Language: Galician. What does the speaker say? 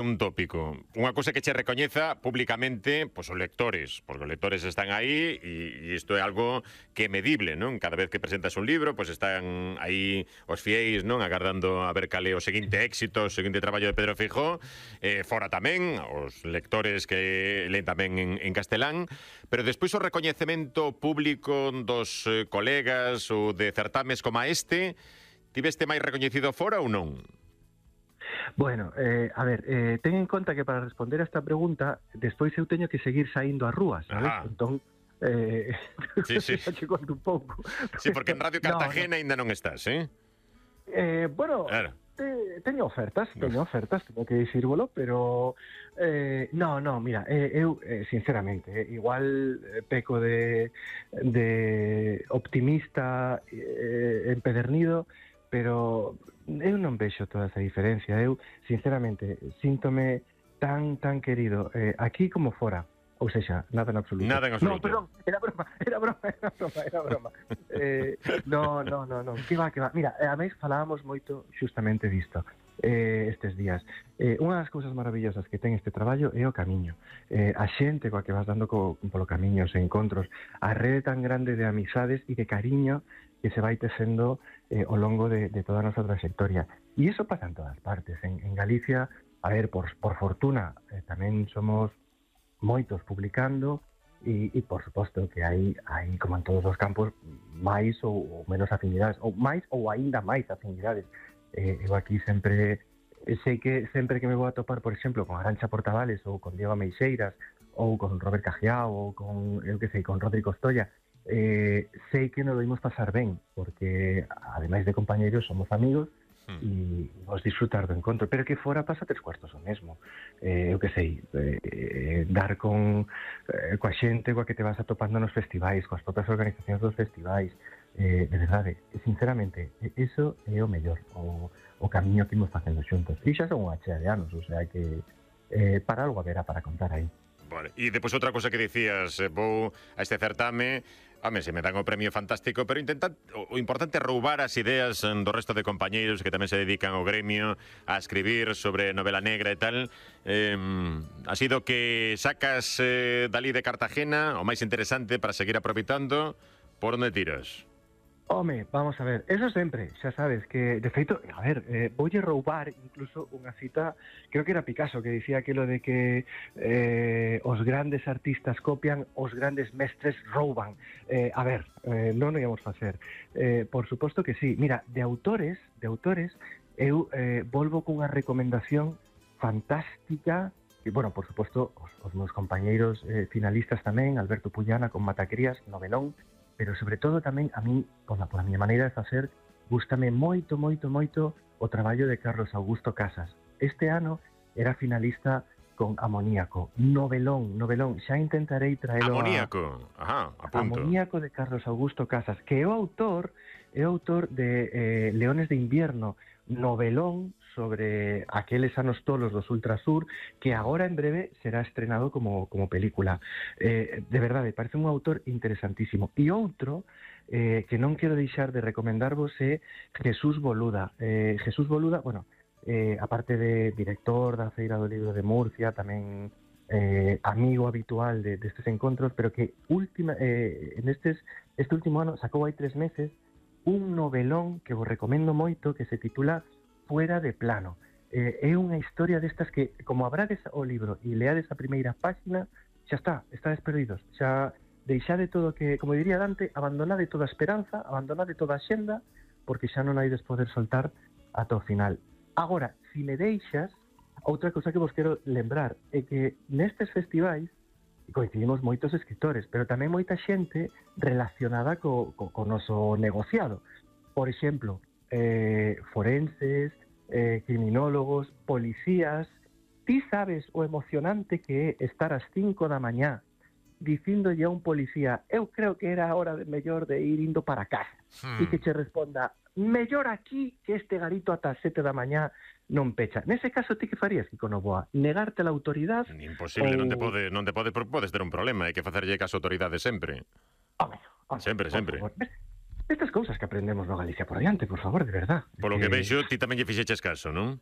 un tópico. Unha cousa que che recoñeza públicamente os lectores, porque os lectores están aí e isto é algo que é medible, non? Cada vez que presentas un libro, están aí os fieis, non? Agardando a ver cal é o seguinte éxito, o seguinte traballo de Pedro Feijóo, fora tamén, os lectores que leen tamén en castelán, pero despois o recoñecemento público dos colegas ou de certames como este, tiveste máis recoñecido fora ou non? Bueno, a ver, ten en conta que para responder a esta pregunta despois eu teño que seguir saindo ás rúas, sabes? Ajá. Entón, sí. te conto un pouco. Sí, porque en Radio Cartagena ainda non estás, Bueno, claro. Teño ofertas, teño que dicírvolo, pero mira, eu sinceramente, igual peco de optimista, empedernido, pero eu non vexo toda esa diferencia. Eu, sinceramente, síntome tan querido aquí como fora. Ou sexa, nada en absoluto. Nada en absoluto. No, perdón, era broma. No, que va. Mira, a mí falábamos moito xustamente disto estes días. Unha das cousas maravillosas que ten este traballo é o camiño. A xente coa que vas dando polo camiño, os encontros, a rede tan grande de amizades e de cariño que se vai tecendo ao longo de toda a nosa trayectoria. E iso pasa en todas partes. En Galicia, a ver, por fortuna, tamén somos moitos publicando e por suposto que hai, como en todos os campos, máis ou menos afinidades, ou máis ou aínda máis afinidades. Eu aquí sempre sei que sempre que me vou a topar, por exemplo, con Arantxa Portavales ou con Diego Meixeiras ou con Robert Cajiao ou con, con Rodrigo Costolla, sei que nos vimos pasar ben, porque ademais de compañeiros somos amigos e vos disfrutar do encontro, pero que fora pasa 3/4 o mesmo. Eu que sei, dar coa xente coa que te vas atopando nos festivais, coas propias organizacións dos festivais, de verdade, sinceramente, iso é o mellor, o camiño que imos facendo xuntos. E xa son unha chea de anos, o sea que para algo haberá para contar aí. Vale. E depois outra cosa que dicías, vou a este certame, se me dan o premio fantástico, pero o importante é roubar as ideas do resto de compañeiros que tamén se dedican ao gremio a escribir sobre novela negra e tal. Ha sido que sacas dali de Cartagena o máis interesante para seguir aproveitando. Por onde tiras? Home, vamos a ver, eso sempre, xa sabes que, de feito, a ver, voulle roubar incluso unha cita, creo que era Picasso, que dicía aquilo de que os grandes artistas copian, os grandes mestres rouban. A ver, non o íamos facer. Por suposto que sí. Mira, de autores, eu volvo cunha recomendación fantástica, e, bueno, por suposto, os meus compañeiros finalistas tamén, Alberto Puyana con Matacrías, novelón, pero sobre todo tamén a mí, pola miña maneira de facer, gústame moito o traballo de Carlos Augusto Casas. Este ano era finalista con Amoníaco, novelón, xa intentarei traelo Amoníaco, apunto. Amoníaco de Carlos Augusto Casas, que é o autor de Leones de Invierno, novelón sobre aqueles anos tolos dos Ultrasur, que agora en breve será estrenado como película. De verdade, parece un autor interesantísimo. E outro que non quero deixar de recomendarvos é Jesús Boluda. Jesús Boluda, bueno, aparte de director da Feira do Libro de Murcia, tamén amigo habitual destes encontros, pero que este último ano sacou hai 3 meses un novelón que vos recomendo moito, que se titula Fuera de plano. É unha historia destas que, como abrades o libro e leades a primeira páxina, xa estades perdidos. Xa deixade todo que, como diría Dante, abandonade toda esperanza, abandonade toda a xenda, porque xa non hai poder soltar ata o final. Agora, se me deixas, outra cosa que vos quero lembrar é que nestes festivais coincidimos moitos escritores, pero tamén moita xente relacionada co noso negociado. Por exemplo, forenses, criminólogos, policías. Ti sabes o emocionante que é estar ás 5 da mañá dicíndolle a un policía: eu creo que era a hora mellor de ir indo para casa, e que che responda: mellor aquí que este garito ata as 7 da mañá non pecha. Nese caso, ti que farías, Kiko Novoa? Negarte a autoridade? Imposible, non te podes ter un problema, hai que facerlle caso a autoridade sempre. Home, sempre. Estas cousas que aprendemos no Galicia por diante, por favor, de verdad. Polo que vexo, ti tamén lle fixeches caso, non?